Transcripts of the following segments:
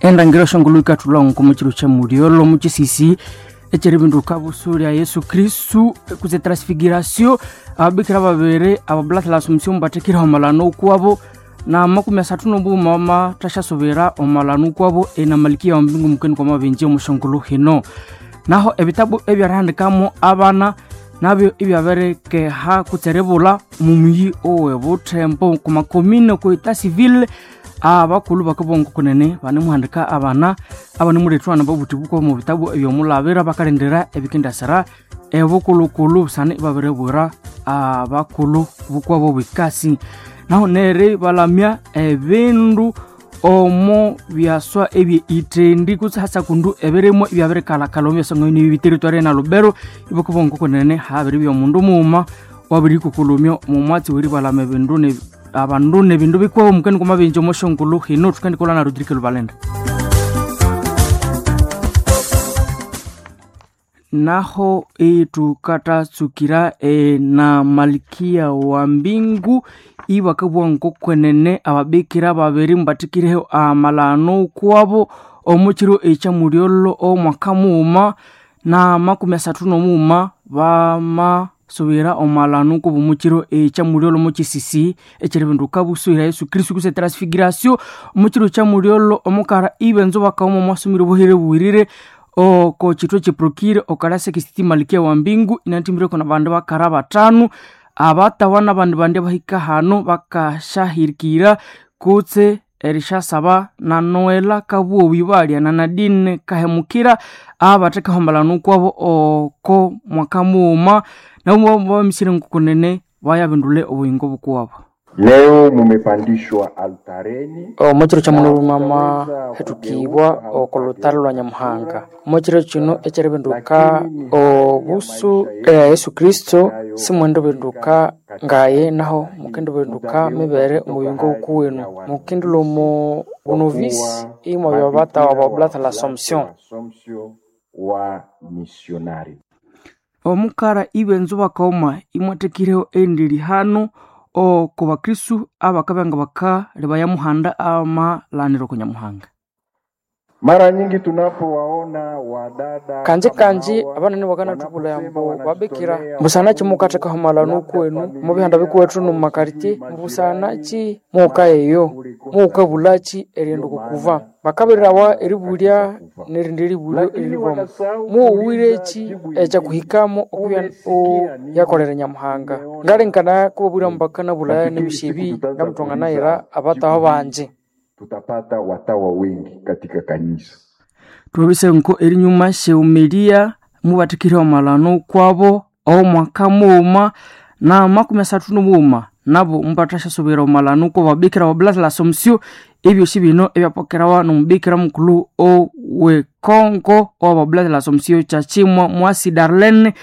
Endangiro shongolo ikathulha omu kiro kya mulyolho omu kisisi ekyeribinduka busu lya Yesu Kristu kutse transfiguration. Ababikira babiri ababulata l'Assumption bathekire omalano okwabo na 31 bamathasyasobera omalano okwabo ena Malikia wa mbingu mukeni kwa mabenje omushongolo hino. Naho ebitabu ebyerihandikamo abana nabyo ibyabirikeha kutse eribulha omu muyi owe Buthembo kumakomine oku eta civil. Abakulhu bakabugha kunene banemuhandika abana abanemulethwa nababuthi bukwabo omu bitabu ebyomulabira bakalindira ebikendasira ebukulhukulhu busana ibabiribwira abakulhu bukwabo bwikasi. Naho neribalamya ebindu omo byaswa ebye ithendi kutse hasakundu ebirimwa ibyabirikalhakalha omu byaswa ngabino biteritory na Lubero. Ibakabugha kunene habiribya omundu mughuma wabirikukulumya omu mwatsi weribalama ebindu abandu nebindu bikwabo mukeni kwa mabenje omo shongolo hino. Thukendikolha na Rodrigue Lubalenda. Naho ithukathatsukira ena Malikia wa mbingu ibakabugha ngokwenene ababikira babiri mubathikireho amalano kwabo omu kiro ekyamulyolho omwaka mughuma na 31 bamasubira omalano kubo omu kiro ekyamulyolho omu kisisi ekyeribinduka busu lya Yesu Kristu kutse transfiguration. Omu kiro kyamulyolho omukara ibenzo bakaghuma omwasomero obuhere buwirire oko kitwe kyiprokire okalasa kisiti Malikia wa mbingu inathimbireko nabandu bakara bathanu abatawa nabandi bandi abahika hano bakasyahirikira kutse erisyasaba na Noela Kabugho balya na Nadine Kahemukira abathekahombalana okwabo oko mwaka mughuma. Nabo bamisire ngokunene bayabindulha obuyingo bukuwabo. Leo mumepandishwa altareni. Omu kiro kya mulhuma hethukibwa oko lutalo lwa Nyamuhanga. Omu kiro kino ekyeribinduka obusu ya Yesu Kristo simwendibinduka ngaye naho mukendibinduka mibere omuyingo wukuwenu mukendilhwa omu bunovisi imwabya batawa ba Oblato la Assumption. Wa misionari. Omukara ibenzo bakaghuma imwathekireho endiri hano oko bakristu abakabya nga bakalebaya muhanda amalaniro oko Nyamuhanga. Mara nyingi tunapowaona wadada Kanji kama kanji hawa abanene bakanathubulha wanaposema ambu babikira wanajitolea busana ki kwa Mungu, mukathekaho amalano labda kwenu omu bihanda familia bikuwethu au nomumakarite sijui majirani, mubusana ki muka eyo kulikosa mukabulaki erighenda ndio okukuva maana bakabirirawa wanaenda eribulya katika kufa, nerindi eribulyo lakini eriribwamu. wanasahau Muwuwireki kuuliza jibu ingine, ekyakuhikamu okubya umesikia nini? oyakolera Nyamuhanga? Umeona Ngalengekana kubabwira nini? mubakanabulaya Nafikiri nebisi siku ebi tutaanza ngamuthwanganayira kuuliza abatawa jibu hili, banji. tutapata watawa wengi katika kanisa. Thwabise nko erinyuma syeumelia mubathikireho amalano kwabo omwaka mughuma na 31 nabo mubathasyasubira omalano kwabo ababikira ba Oblato la Assumption. Ebyosi bino ebyapokerawa nomubikira mukulhu owe Congo owa Oblato la Assumption Kyakimwa Mwasi Darlene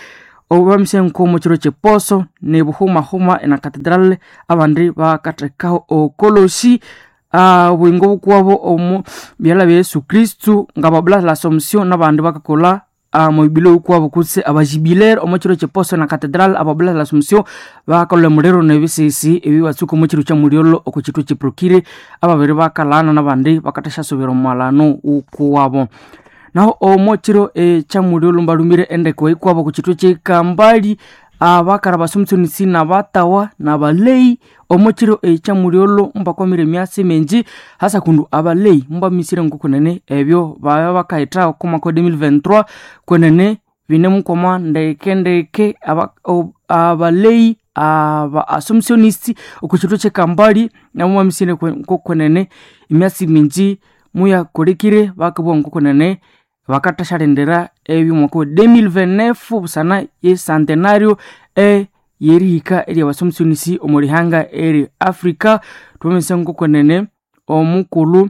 obamise nko mukiro kyeposo nebuhumahuma ena cathedral abandi bakathekaho okolosi obuyingo bukwabo omu byalha bya Yesu Kristu nga ba Oblato la Assumption nabandi bakakolha omubilo wukwabo kutse abajubilere omu kiro kyeposo na cathedral. Aba Oblato la Assumption bakakolha emuliro nebisisi ebibatsuka omu kiro kyamulyolho oko kitwe kyiprokire ababiri bakalhana nabandi bakathasyasubira omumalano wukuwabo. Naho omu kiro ekyamulyolho mbalhumire endeko yikwabo oko kitwe kyekambali abakara basomesonisi nabatawa nabaleyi omu kiro ekyamulyolho mubakwamire emyatsi mingi hasa kundu abaleyi mubamisire ngokunene ebyo babya bakahitha oko mwaka wa 2023 kwenene binemukwama ndeke ndeke. Abaleyi aba assumptionist oko kitwe kyekambali nabo mubamisire ngokwenene emyatsi mingi muyakolekire. Bakabugha ngokunene bakathashalindira ebyomwaka wa 2029 busana ye centenario eyerihika erya basomesonisi omu lihanga eri Africa. Thwamanyisa ngokwenene omukulhu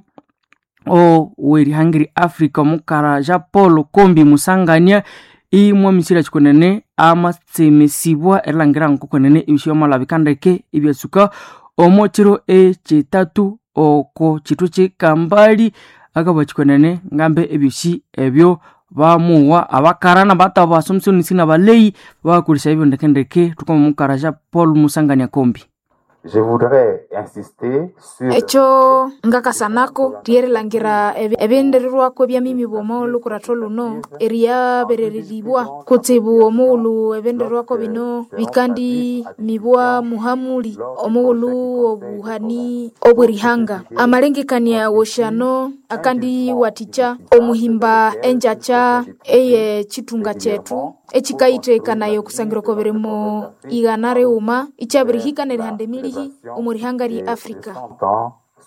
owerihanga eri Africa omukara Jean Paul Kombi Musangania imwamisire kyikunene amatsemesibwa erilhangira ngokwenene ebisyo byamalhabika ndeke ebyatsuka omu kiro ekyithathu oko kitwe kyekambali. Akabugha kyikunene ngambe ebyosi ebyo bamuwa abakara nabataba basomesonisi nabaleyi bakolesya ebyo ndeke ndeke. Thukama omukara Jean Paul Musangania Kombi. Je voudrais insister sur Ekyo ngakasanako ryerilangira ebyendererwako ebyamimibwa omo lukuratho luno eryaberereribwa kutsibu omughulhu ebyendererwako bino bikandimibwa muhamuli omughulhu obuhani obwerihanga. Amalengekania wosyano akandiwathikya omuhimba engyakya eye kyithunga kyethu ekikayithekakanaya okusangira oko birimo 101 ikyabirihika nerihanda emilihi omu rihanga lye Africa.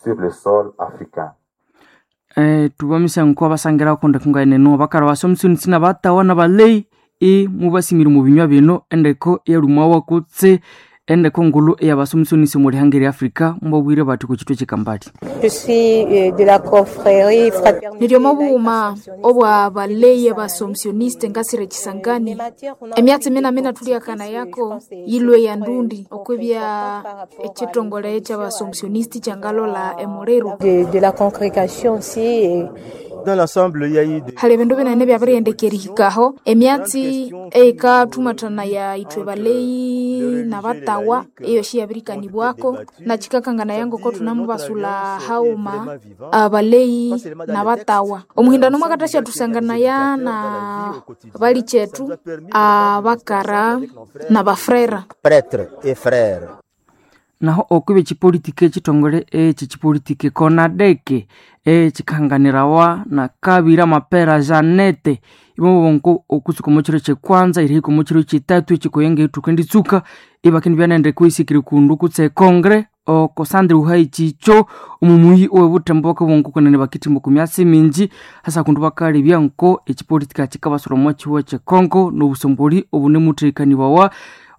Sur le sol africain. Tubamisa nko abasangira kundi kungaeneno bakara basomsoni batawa na balei e mubasimire mu binywa bino endeko eyalumawa kutse endeko ngulu eyabasomsonisi mu lihanga lya Afrika mbabwire bati ku kitwe kyekambali. Je suis de la confrérie fraternité. Niryomo obughuma obwa baleyi abasomsioniste ngasire Kisangani. Emyatsi minamina thulyakana yako yilwe ya ndundi okwibya ekithongole ekyabasomsionisti kyangalola emuliro. De la congrégation aussi. Et Dans l'ensemble, il y a eu des... Hali ebindu binene byabiriyendeka erihikaho emyatsi eyikathumathanaya ithwe baleyi nabatawa eyosi yabirikanibwako nakikakanganaya ngoko thunamubasula haghuma abaleyi nabatawa. Omuhindano mwakathasyathusangana na balikyethu abakara nabafrera. Prêtre et frère. Naho okwibya ekipolitiki ekithongole eki kipolitiki konadeke ekyikanganirawa na Kabira Mapera Janete imobonko okutsuka omo kiro kyekwanza erihika omo kiro kyitatu ekikoyenga ethuka enditsuka ibakendibya nendeko isikire kundu kutse ekongre oko Sandra Uhai Chicho omumuyi owebuthembo bakabongo kunene bakithimba oku myatsi mingi hasa kundu bakalebya nko ekipolitika kikabasura omo kihuha kyekongo nobusomboli obunemuthekanibawa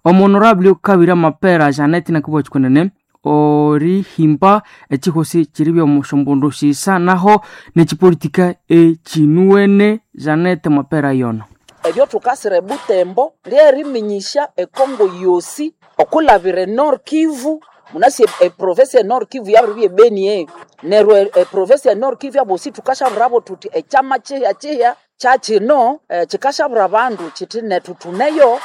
omuhonorable Kabira Mapera Janete nakibwa kikunene orihimba ekihosi kiribya omushombondo shisa naho nekipolitika ekinuwene Janete Mapera yono. Ebyo thukasira ebutembo lyeriminyisya ekongo yosi okulabira e Nord Kivu munasi eprovince e Nord Kivu yabiribya ebeni eyo neryo eprovince e Nord Kivu abosi thukashaburabo thuthi ekyama kihya kihya kyakino kikashabura abandu kithi nethu thuneyo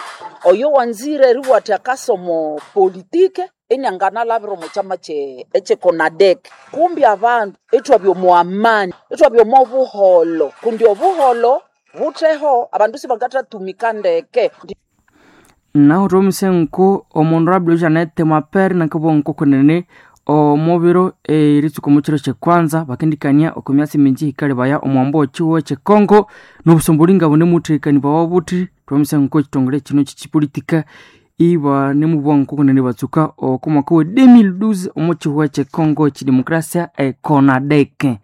oyo wanzire eribugha athi akasoma politike inianganalabira omo kyama ekyekonadec. Kumbi abandu ithwabya omu amani ithwabya omo buholho kundi obuholho butheho abandu sibangathatumika ndeke. Naho thomise nko omuhonorable Janete Mapera nakabugha nko kunene omubiro eritsuka omu kiro kyekwanza bakendikania oku myatsi mingi hikalebaya omwambo wekihuha kyekongo nobusomboli nga bunemuthekanibawa buthi. Thomise nko ekithongole kino kyekipolitika ibanemubugha nko kunene batsuka oku mwaka we 2012 omu kihuha kyekongo ekidemokrasia ekonadeke.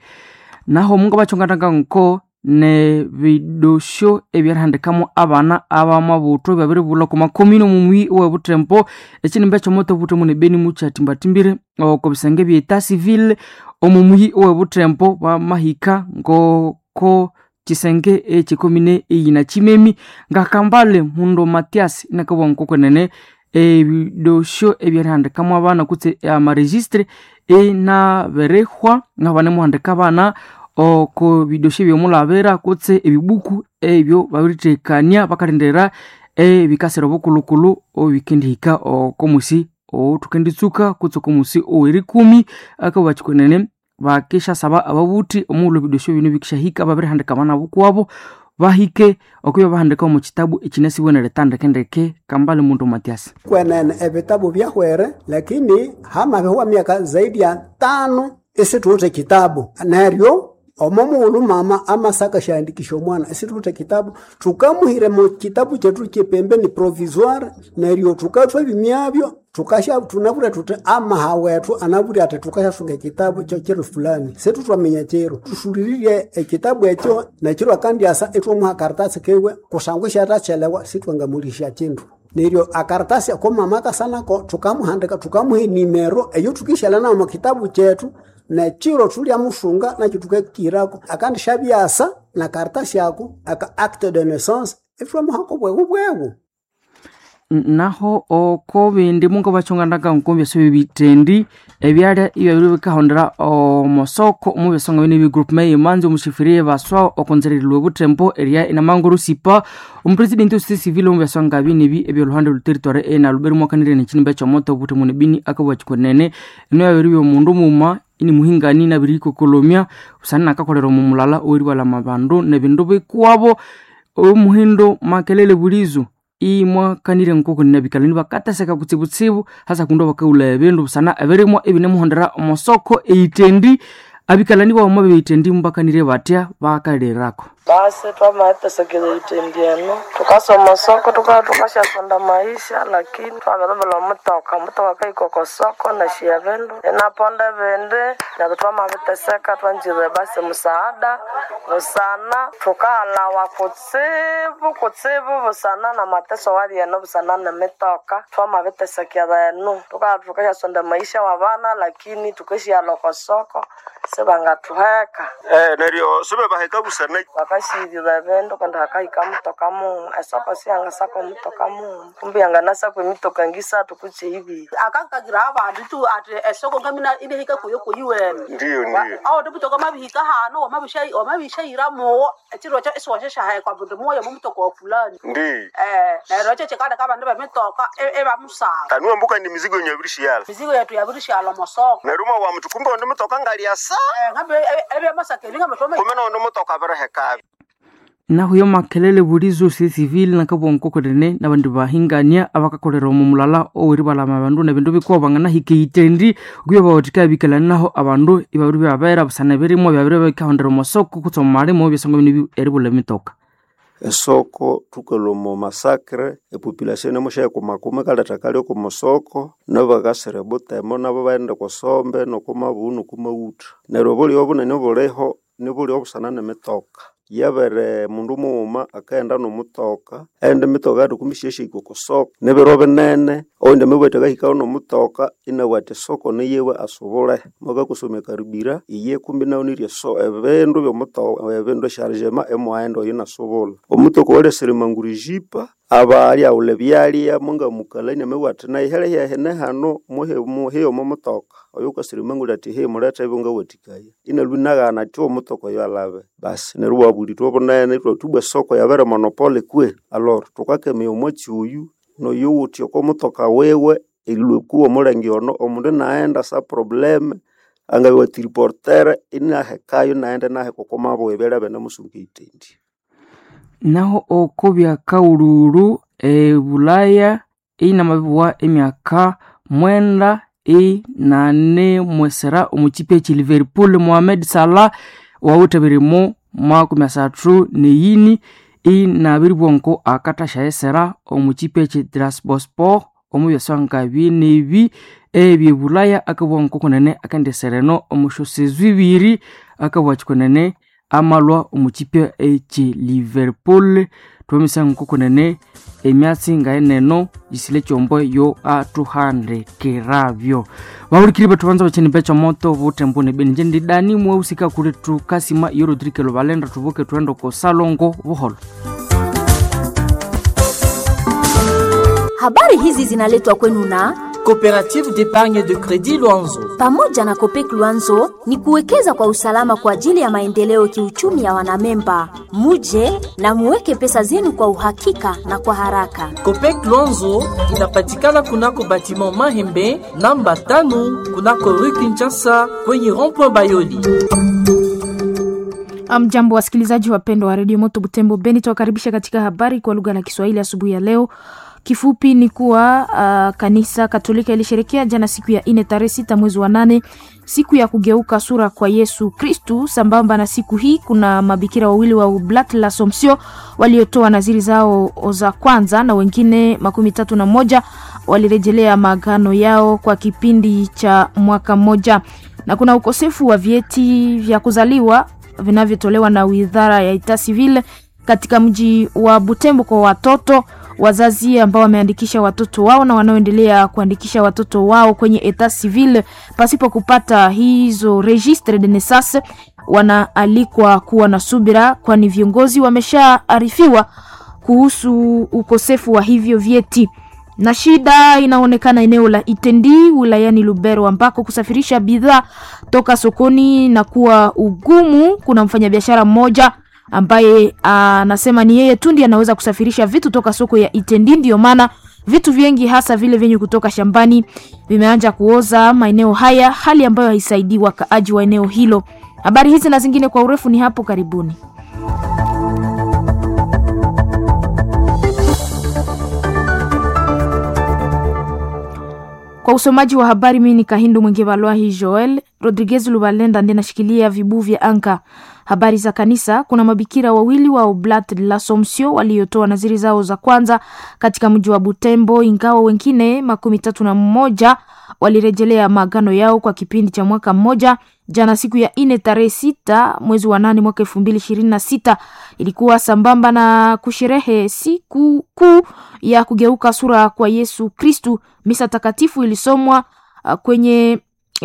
Naho omungu bakyongananga nko nebidosyo ebyerihandikamu abana abamabuthu babiribulha oku makomini omumuyi owebuthembo ekinimba ekyomoto obuthemu nebeni mukyathimbathimbiire oko bisenge bye etat civil omumuyi owebuthembo bamahika ngoko kisenge ekikomine eyina kimemi ngakambale Mundo Matias inakabugha nkokwenene ebidosyo ebyerihandikamu abana kutse amaregistre inabirihwa naho banemuhandika abana oko bidosyo ebyomulabira kutse ebibuku ebyo babirithekania bakalindirira ebikasira obukulukulu obikendihika oko musi othukenditsuka kutse oko musi owerikumi akabugha kikwenene bakishasaba ababuthi omughulhu ebidosyo bino bikishahika babirihandika abana bukwabo bahike okubya bahandika omu kitabu ekinasibwe neritandikendeke. Kambale Mundo Matias. Kwenene ebitabu byahwere lakini hamabihwa myaka zaidi ya 5 isithuwithe kitabu neryo omo mughulhu mama amasaka syandikisha omwana isithuwithe kitabu thukamuhira mu kitabu kyethu kyepembeni provisoire neryo thukathwa ebimyabyo thukasha thunabwira thuthi amaha wethu anabwire athi thukashasunga ekitabu kyekiro fulani situthwaminya kiro thusuliririe ekitabu ekyo nekiro akandyasa ithwamuha akaratasi kiwe kusangwa isyathachelewa sithwangamulisya kindu. Neryo akaratasi ako mama akasanako thukamuhandika thukamuha enimero eyo thukishalha nayo omu kitabu kyethu nekiro thulyamusunga nakyo thukakirako akandisyabyasa na karatasi ako aka acte de naissance ithwamuhako bweghu bweghu. Naho oko bindi munga bachonganaga nkombi asebe bitendi ebyalya ibyabiri bikahondera omosoko omu byasonga bine bi group may manzi omushifirie baswa okonzererilwe butembo eria inamanguru sipa omupresidenti osisi civil omu byasonga bine bi ebyoluhande lu territoire ena luberi mwakanire nechinimba ekyomoto obutembo nebini akabwachikonene eno yabiri byomundu muma ini muhingani nabiri ikokolomya usana nakakolera omu mulala oweribalama bandu nebindu bikwabo omuhindo makelele bulizo imwakanire nkoko ninabikalani bakateseka kutsibutsibu hasa kundu bakaula ebindu busana ebirimwa ebinemuhondera omosoko eitendi abikalani bawoma beitendi mubakanire batya bakalirako. Basi twamatesekere itendi eno tukasoma soko tukaa tukashasonda maisha, lakini twavelevela omutoka omutoka kaikoko soko nashiya vindu inaponda vindi neryo twamaviteseka twanjire basi musaada busana tukahalawa kutsibu kutsibu busana na mateso wali eno busana nemitoka twamavitesekera eno tukaa tukashasonda maisha wa vana, lakini tukashiya soko sibangatuheka. Neryo sibebaheka busana bakashirira ebindu kandi hakahika mutoka muuma esoko siyangasaka omutoka muuma kumbi yanganasaka emitoka ngisathu kutse ibiri akakagira abandu tu ati esoko ngamina inehika kuyo kuyiwene. Ndiyo, ndiyo. Awo ndimutoka mabihika hano wamabishaira muwo ekiro ekyo isiwashashahekwa mundu muwoyo mumutoka wa fulani. Ndiyo. Neryo ekyo kikaleka abandu bemitoka ibamusaba. Tanuwa mbuka ndi mizigo yenyu yabirishyala. Mizigo yetu yabirishyala omosoko. Neryo uma wa muthu kumbe onde mutoka ngalyasa. Ngambe ebyamasaka ebi ngambe twama. Kumbe nondi mutoka abirihekabi. Nahuyo makelele bulizo si civil nakabonkokorene nabandi bahingania abakakolera omu mulala oweribalama abandu nebindu bikuwa banganahika itendi okuya bawathika abikalani naho abandu ibabiri byabera busana ebirimwa byabiri bikahondera omosoko kutse omu malimo ebyasonga bino eribulha emitoka. Esoko thukalwa omo masakre epopulation inemushayikumakuma ikaletha akalyo oku musoko nabakasira ebutembo nabo baghenda okwa sombe noko mabuhu noko maghutha. Neryo obulyo obunene obuliho nibulyo obusana nemitoka. Yabere mundu mughuma akaghenda nomutoka eyindi mitoka yathuka isyahika oko soko nibiro binene owundi amabugha athi akahikayo nomutoka inabugha athi esoko niyiwe asubule mwakakosomya karibira iye kumbi nayo nirya ebindu byomutoka ebindu eshargema imughenda oyo inasubula. Omutoka owalyasilima mangurejipa abalyaghulha ebyalya mungamukalania amabugha athi nayi hali hano muheyo omo mutoka oyo wukasirima nguli athi heyi mulethe ebyangawathikaya inalwa inaghana athi omutoka oyo alhabe. Basi neryo ibwabulithwa obunene ithwathi ibwa esoko yabiri monopole kwe aloro thukakemaya omwatsi oyu noyowuthi oko mutoka wiwe erilhwa kuwa omulenge ono omundu inaghenda sa probleme angabya triportere inahekayo inaghenda inaheka oko mabuha ebyalya ibinemusunga eyitendi. Naho oko byakaghulhulhu ebulaya inamabibugha emyaka 9 inanemwesera omukipi ekyi Liverpool Mohamed Salah owawithe ebirimo 34 inabiribugha akathasyaghesera omukipi ekyi Trabzonspor omu byasonga binebi ebyebulaya akabugha nkokunene akendisera eno omu syosezo ibiri akabugha kyikunene amalhwa omukipi ekyi Liverpool. Twamisa nkokunene emyatsi ngayeneno yisile ekyombo yo athuhandikirabyo. Bahulikiri bethu banza bakyeni bekyomoto butembo nebeni nje ndidani mwehusika kuli thukasima iyo Rodrigue Lubalenda thubuke thughende oko salongo buholho. Habari hizi zinaletwa kwenu na Coopérative d'épargne de crédit Luanzo. Pamoja na Copec Luanzo ni kuwekeza kwa usalama kwa ajili ya maendeleo kiuchumi ya wanamemba. Muje na muweke pesa zenu kwa uhakika na kwa haraka. Copec Luanzo inapatikana kunako batiment Mahembe namba 5 kunako rue Kinshasa kwenye rond-point Bayoli. Mjambo wasikilizaji wapendwa wa redio Moto Butembo Beni, tuwakaribisha katika habari kwa lugha la Kiswahili asubuhi ya leo. Kifupi ni kuwa kanisa Katolika ilisherekea jana siku ya 4 tarehe 6 mwezi wa 8 siku ya kugeuka sura kwa Yesu Kristu. Sambamba na siku hii kuna mabikira wawili wa Oblat l'Assomption waliotoa naziri zao za kwanza na wengine 31 walirejelea maagano yao kwa kipindi cha mwaka mmoja. Na kuna ukosefu wa vyeti vya kuzaliwa vinavyotolewa na Wizara ya Etat Civil katika mji wa Butembo kwa watoto wazazi ambao wameandikisha watoto wao na wanaoendelea kuandikisha watoto wao kwenye etat civil pasipo kupata hizo registre de naissance wanaalikwa kuwa na subira, kwani viongozi wameshaarifiwa kuhusu ukosefu wa hivyo vyeti. Na shida inaonekana eneo la Itendi wilayani Lubero ambako kusafirisha bidhaa toka sokoni na kuwa ugumu. Kuna mfanyabiashara mmoja ambaye anasema ni yeye tu ndiye anaweza kusafirisha vitu toka soko ya Itendi, ndiyo maana vitu vingi hasa vile vyenye kutoka shambani vimeanza kuoza maeneo haya, hali ambayo haisaidii wakaaji wa eneo hilo. Habari hizi na zingine kwa urefu ni hapo karibuni. Kwa usomaji wa habari, mimi ni Kahindu Mwingi Balwahi Joel Rodriguez Lubalenda ndiye nashikilia vibu vya anka. Habari za kanisa, kuna mabikira wawili wa Oblat de l'Assomption waliotoa naziri zao za kwanza katika mji wa Butembo, ingawa wengine 31 walirejelea maagano yao kwa kipindi cha mwaka mmoja. Jana siku ya 4 tarehe 6 mwezi wa 8 mwaka 2026 ilikuwa sambamba na kusherehe siku kuu ya kugeuka sura kwa Yesu Kristu. Misa takatifu ilisomwa kwenye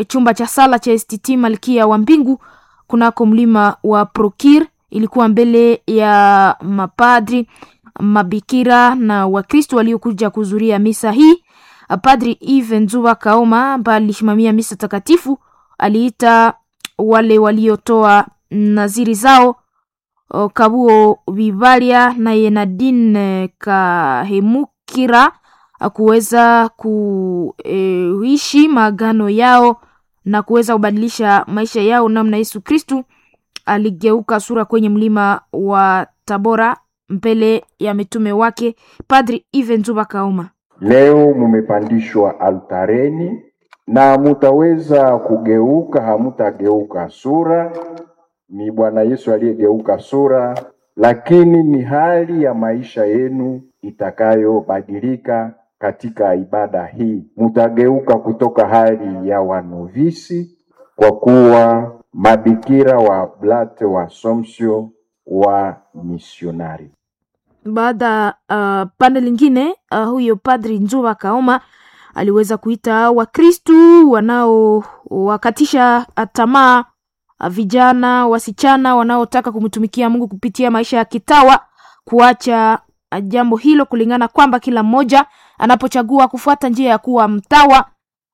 chumba cha sala cha STT Malkia wa Mbingu kunako mlima wa Prokir. Ilikuwa mbele ya mapadri, mabikira na Wakristo waliokuja kuhudhuria misa hii. Padri Yves Nzuba Kaoma ambaye alisimamia misa takatifu aliita wale waliotoa naziri zao Kabuo Bibalia naye Nadine Kahemukira kuweza kuishi maagano yao na kuweza kubadilisha maisha yao namna Yesu Kristu aligeuka sura kwenye mlima wa Tabora mbele ya mitume wake. Padri Yves Nzuba Kaoma: Leo mumepandishwa altareni na mutaweza kugeuka, hamutageuka sura. Ni Bwana Yesu aliyegeuka sura, lakini ni hali ya maisha yenu itakayobadilika katika ibada hii. Mutageuka kutoka hali ya wanovisi kwa kuwa mabikira wa Oblate wa Assumption wa misionari. Baada pande lingine, huyo Padri Nzuba Kaoma aliweza kuita Wakristu wanaowakatisha tamaa vijana wasichana wanaotaka kumtumikia Mungu kupitia maisha ya kitawa kuacha jambo hilo, kulingana kwamba kila mmoja anapochagua kufuata njia ya kuwa mtawa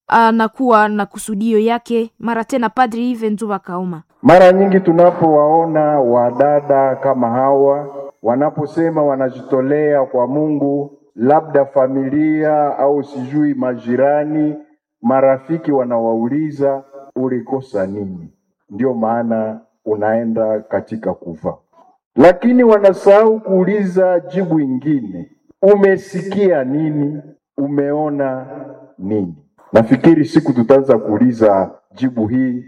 anakuwa na kusudio yake. Mara tena Padri Yves Nzuba Kaoma: Mara nyingi tunapowaona wadada kama hawa wanaposema wanajitolea kwa Mungu, labda familia au sijui majirani, marafiki wanawauliza ulikosa nini? Ndiyo maana unaenda katika kufa. Lakini wanasahau kuuliza jibu ingine, umesikia nini? Umeona nini? Nafikiri siku tutaanza kuuliza jibu hii,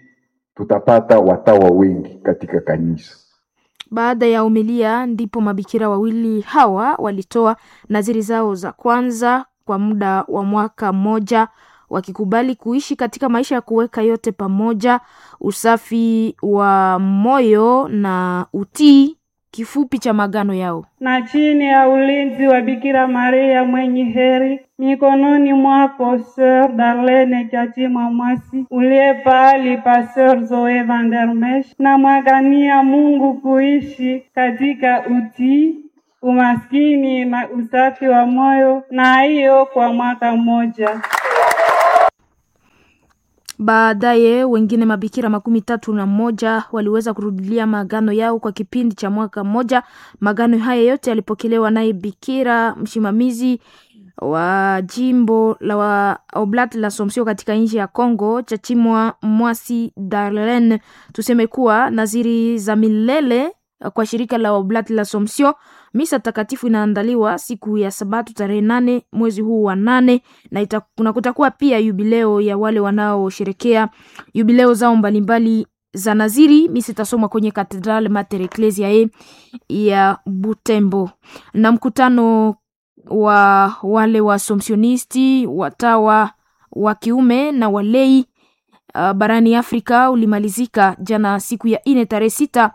tutapata watawa wengi katika kanisa. Baada ya umilia ndipo mabikira wawili hawa walitoa naziri zao za kwanza kwa muda wa mwaka mmoja, wakikubali kuishi katika maisha ya kuweka yote pamoja, usafi wa moyo na utii, kifupi cha maagano yao. Na chini ya ulinzi wa Bikira Maria mwenye heri, mikononi mwako Sœur Darlene Chachi Mwasi, uliye pahali pa Sœur Zoe van der Mesch, na mwagania Mungu kuishi katika utii, umaskini na usafi wa moyo, na hiyo kwa mwaka mmoja. Baadaye wengine mabikira 31 waliweza kurudilia maagano yao kwa kipindi cha mwaka mmoja. Maagano haya yote yalipokelewa naye bikira msimamizi wa jimbo la wa Oblat la Somsio katika nchi ya Congo, Chachimwa Mwasi Darlene. Tuseme kuwa naziri za milele kwa shirika la Oblat la Somsio, misa takatifu inaandaliwa siku ya Sabato tarehe 8 mwezi huu wa 8, na kuna kutakuwa pia yubileo ya wale wanaosherekea yubileo zao mbalimbali za naziri. Misa itasomwa kwenye Katedral Mater Ecclesiae ya Butembo. Na mkutano wa wale wa somsionisti watawa wa kiume na walei barani Afrika ulimalizika jana siku ya 4 tarehe 6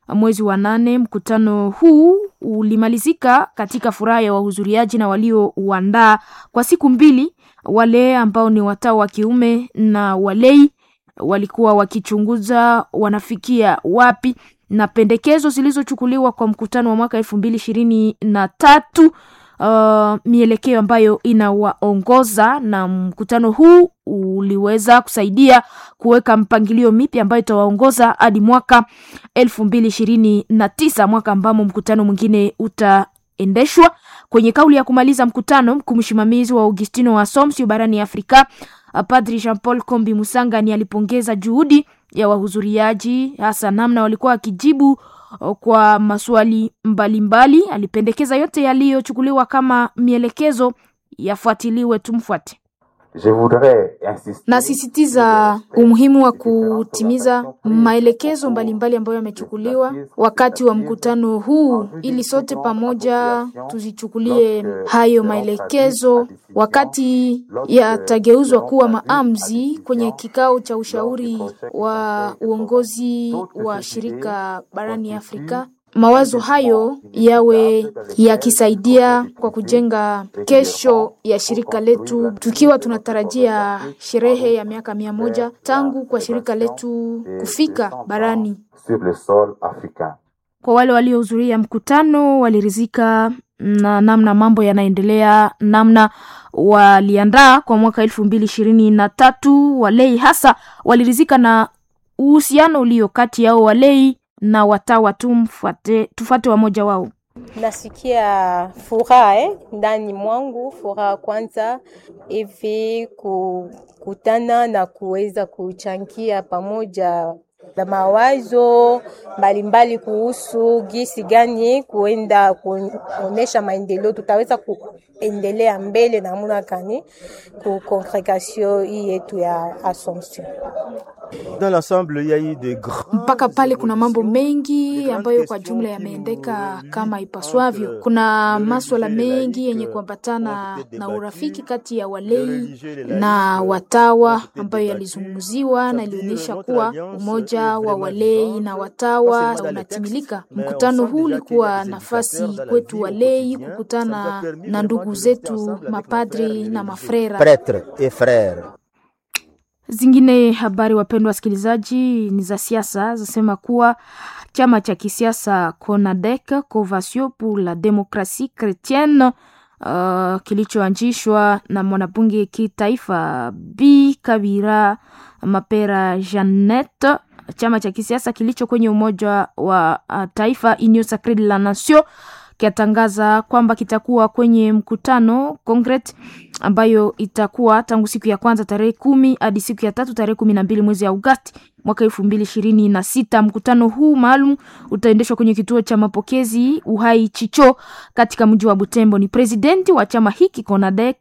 mwezi wa 8. Mkutano huu ulimalizika katika furaha ya wahudhuriaji na waliouandaa kwa siku mbili. Wale ambao ni watawa wa kiume na walei walikuwa wakichunguza wanafikia wapi na pendekezo zilizochukuliwa kwa mkutano wa mwaka 2023. mielekeo ambayo inawaongoza, na mkutano huu uliweza kusaidia kuweka mpangilio mipya ambayo itawaongoza hadi mwaka 2029, mwaka ambamo mkutano mwingine utaendeshwa. Kwenye kauli ya kumaliza mkutano, mkuu msimamizi wa Augustino wa Assumption barani Afrika Padri Jean Paul Kombi Musangani alipongeza juhudi ya wahudhuriaji, hasa namna walikuwa wakijibu kwa maswali mbalimbali mbali. Alipendekeza yote yaliyochukuliwa kama mielelekezo yafuatiliwe. Tumfuate. Je voudrais insister Nasisitiza umuhimu wa kutimiza maelekezo mbalimbali ambayo yamechukuliwa wakati wa mkutano huu, ili sote pamoja tuzichukulie hayo maelekezo wakati yatageuzwa kuwa maamuzi kwenye kikao cha ushauri wa uongozi wa shirika barani Afrika. Mawazo hayo yawe yakisaidia kwa kujenga kesho ya shirika letu, tukiwa tunatarajia sherehe ya miaka 100 tangu kwa shirika letu kufika barani. sur le sol africain. Kwa wale waliohudhuria mkutano walirizika na namna mambo yanaendelea, namna waliandaa kwa mwaka 2023. Walei hasa walirizika na uhusiano ulio kati yao walei na watawa. Tufuate wamoja wao. Nasikia furaha ndani mwangu, furaha kwanza hivi kukutana na kuweza kuchangia pamoja na mawazo mbalimbali kuhusu gisi gani kuenda kuonesha maendeleo, tutaweza kuendelea mbele namuna gani ku congregation hii yetu ya Assumption. Dans l'ensemble, il y a eu de grands Mpaka pale kuna mambo mengi ambayo kwa jumla yameendeka kama ipaswavyo. Kuna maswala mengi yenye kuambatana na urafiki kati ya walei na watawa ambayo yalizungumziwa na ilionyesha kuwa umoja wa walei na watawa unatimilika. Mkutano huu ulikuwa nafasi kwetu walei kukutana na ndugu zetu mapadri na mafrera. prêtres et frères. Zingine habari, wapendwa wasikilizaji, ni za siasa. Zasema kuwa chama cha kisiasa CONADEC, Convention pour la Democratie Chrétienne, kilichoanzishwa na mwanabunge kitaifa B Kabira Mapera Jeannette, chama cha kisiasa kilicho kwenye Umoja wa Taifa Union Sacree de la Nation kiatangaza kwamba kitakuwa kwenye mkutano Congress ambayo itakuwa tangu siku ya kwanza tarehe 10 hadi siku ya tatu tarehe 12 mwezi Agosti mwaka 2026. Mkutano huu maalum utaendeshwa kwenye kituo cha mapokezi Uhai Chicho katika mji wa Butembo. Ni presidenti wa chama hiki CONADEC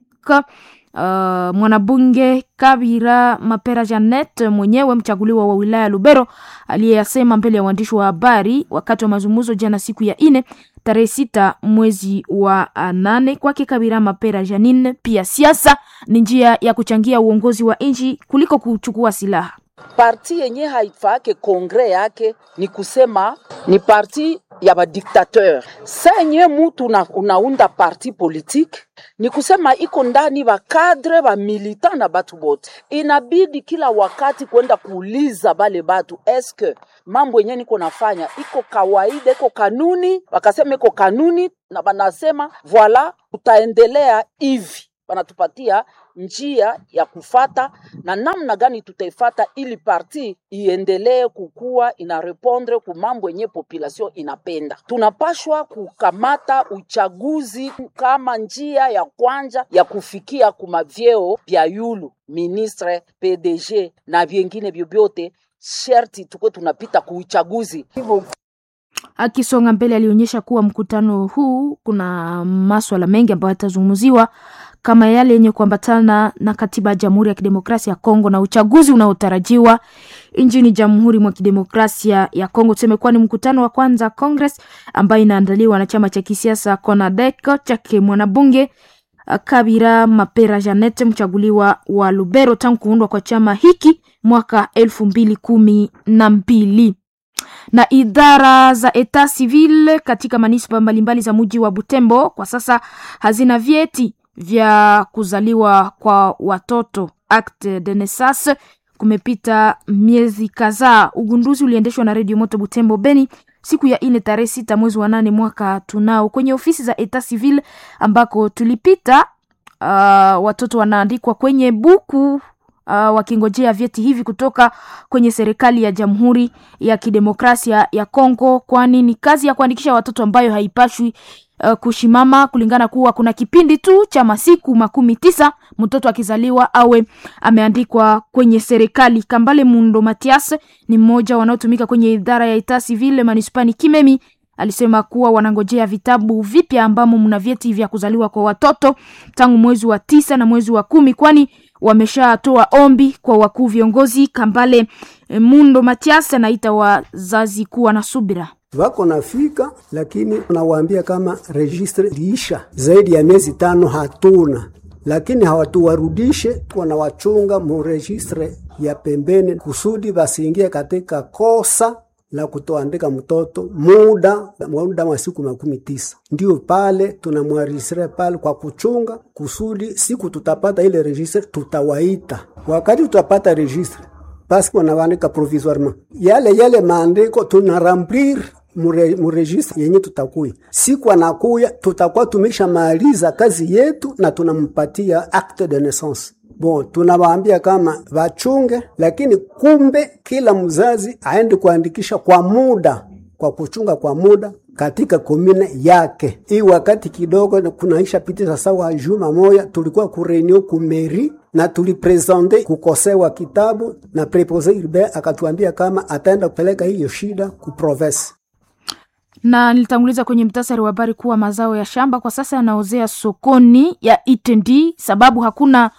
mwanabunge Kabira Mapera Janet mwenyewe mchaguliwa wa wilaya Lubero aliyeyasema mbele ya waandishi wa habari wakati wa mazungumzo jana siku ya ine tarehe 6 mwezi wa 8. Kwake Kabira Mapera Janine, pia siasa ni njia ya kuchangia uongozi wa nchi kuliko kuchukua silaha. Parti yenye haifake kongre yake ni kusema ni parti ya badiktateur. Senye mutu unaunda parti politique ni kusema iko ndani ba cadre ba militant na batu bote, inabidi kila wakati kwenda kuuliza bale batu eske mambo yenye niko nafanya iko kawaida, iko kanuni. Wakasema iko kanuni na banasema voila, tutaendelea hivi, banatupatia njia ya kufata na namna gani tutaifata ili parti iendelee kukua ina répondre ku mambo yenye population inapenda. Tunapashwa kukamata uchaguzi kama njia ya kwanja ya kufikia kuma vyeo vya yulu ministre, PDG na vyengine vyovyote, sherti tuko tunapita kuuchaguzi. Akisonga mbele alionyesha kuwa mkutano huu kuna maswala mengi ambayo yatazungumziwa kama yale yenye kuambatana na katiba ya Jamhuri ya Kidemokrasia ya Kongo na uchaguzi unaotarajiwa nchini Jamhuri mwa Kidemokrasia ya Kongo. Tuseme kuwa ni mkutano wa kwanza Congress ambayo inaandaliwa na chama cha kisiasa CONADEC chake mwanabunge Kabira Mapera Janet mchaguliwa wa Lubero tangu kuundwa kwa chama hiki mwaka 2012 na idara za etat civil katika manispa mbalimbali za mji wa Butembo kwa sasa hazina vyeti vya kuzaliwa kwa watoto acte de naissance. Kumepita miezi kadhaa. Ugunduzi uliendeshwa na Redio Moto Butembo Beni siku ya 4 tarehe 6 mwezi wa 8 mwaka tunao, kwenye ofisi za Etat Civil ambako tulipita. Watoto wanaandikwa kwenye buku wakingojea vyeti hivi kutoka kwenye serikali ya Jamhuri ya Kidemokrasia ya Kongo, kwani ni kazi ya kuandikisha watoto ambayo haipashwi kushimama kulingana kuwa kuna kipindi tu cha masiku 90 mtoto akizaliwa awe ameandikwa kwenye serikali. Kambale Mundo Matias ni mmoja wanaotumika kwenye idara ya Etat Civil manispani Kimemi alisema kuwa wanangojea vitabu vipya ambamo mna vyeti vya kuzaliwa kwa watoto tangu mwezi wa 9 na mwezi wa 10, kwani wameshatoa ombi kwa wakuu viongozi. Kambale Mundo Matias anaita wazazi kuwa na subira. Wako nafika, lakini nawaambia kama registre liisha zaidi ya miezi 5 hatuna, lakini hawatuwarudishe, wanawachunga mu registre ya pembeni kusudi basiingie katika kosa la kutoandika mtoto muda wa siku 90. Ndio pale tunamwarisire pale kwa kuchunga kusudi siku tutapata ile registre tutawaita. Wakati tutapata registre basi wanaandika provisoirement yale maandiko tunaremplir muregistre yenye tutakuya siku anakuya, tutakuwa tumeshamaliza kazi yetu na tunampatia acte de naissance. Bon, tunawaambia kama wachunge, lakini kumbe kila mzazi aende kuandikisha kwa muda, kwa kuchunga kwa muda katika komine yake. Hii wakati kidogo kunaisha pitisha sawa juma moya, tulikuwa kurenio kumeri na tulipresente kukosewa kitabu na prepose urbain akatuambia kama ataenda kupeleka hiyo shida ku province. Na nilitanguliza kwenye mtasari wa habari kuwa mazao ya shamba kwa sasa yanaozea sokoni ya Itendi, sababu hakuna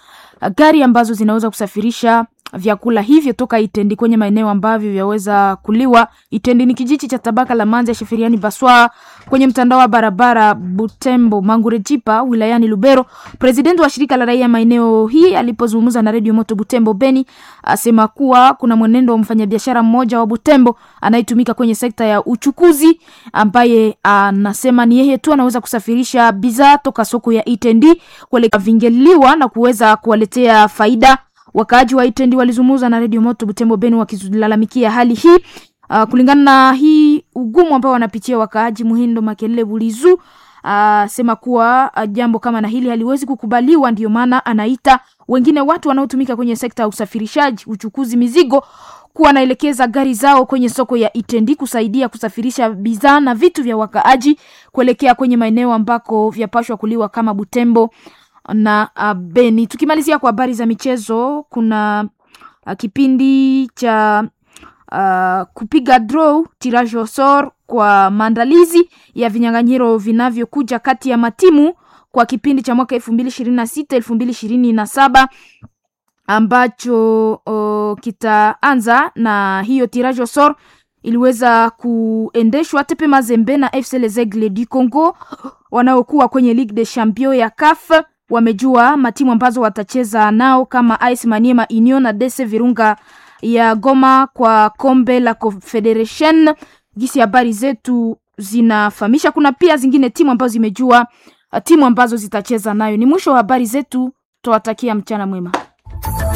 gari ambazo zinaweza kusafirisha vyakula hivyo toka Itendi kwenye maeneo ambavyo vyaweza kuliwa. Itendi ni kijiji cha tabaka la Manza Sheferiani Baswa kwenye mtandao wa barabara Butembo Mangurejipa wilayani Lubero. President wa shirika la raia maeneo hii alipozungumza na Radio Moto Butembo Beni asema kuwa kuna mwenendo wa mfanyabiashara mmoja wa Butembo anayetumika kwenye sekta ya uchukuzi ambaye anasema ni yeye tu anaweza kusafirisha bidhaa toka soko ya Itendi kuelekea Vingeliwa na kuweza kuwaletea faida. Wakaaji wa Itendi walizungumza na Radio Moto Butembo Beni wakilalamikia hali hii. Kulingana na hii ugumu ambao wanapitia wakaaji, Muhindo Makelele Bulizu sema kuwa jambo kama na hili haliwezi kukubaliwa. Ndiyo maana anaita wengine watu wanaotumika kwenye sekta ya usafirishaji, uchukuzi mizigo kuwa wanaelekeza gari zao kwenye soko ya Itendi kusaidia kusafirisha bidhaa na vitu vya wakaaji kuelekea kwenye maeneo ambako vyapashwa kuliwa kama Butembo na Beni. Tukimalizia kwa habari za michezo, kuna kipindi cha kupiga draw tirage au sort kwa maandalizi ya vinyang'anyiro vinavyokuja kati ya matimu kwa kipindi cha mwaka 2026 2027 ambacho kitaanza na hiyo tirage au sort iliweza kuendeshwa TP Mazembe na FC Les Aigles du Congo wanaokuwa kwenye Ligue des Champions ya CAF wamejua matimu ambazo watacheza nao kama AS Maniema Union na DC Virunga ya Goma kwa kombe la Confederation. Gisi habari zetu zinafahamisha, kuna pia zingine timu ambazo zimejua timu ambazo zitacheza nayo. Ni mwisho wa habari zetu, tuwatakia mchana mwema.